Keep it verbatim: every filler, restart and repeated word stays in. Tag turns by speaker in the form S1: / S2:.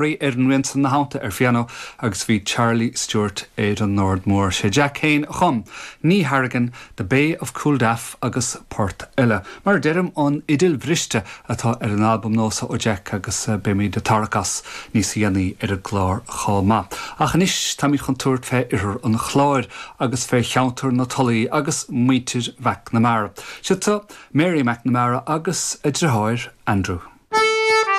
S1: Ar an rian san ina theannta ar phianó agus bhí Charlie Stewart ar an ord mór. Sé Jack féin a chum Ní Harrigan, The Bay of Cooldaff agus port eile. Mar deirim an fhidil bhriste atá ar an albam nua seo ó Jack agus eh, beimid ag tarrac as níos déanaí ar an gclár chomh maith. Ach anois táimid chun tabhairt fé oirthear an Chláir agus fé cheantar na Tulaí agus muintir McNamara. Siad Mary McNamara agus a deartháir Andrew.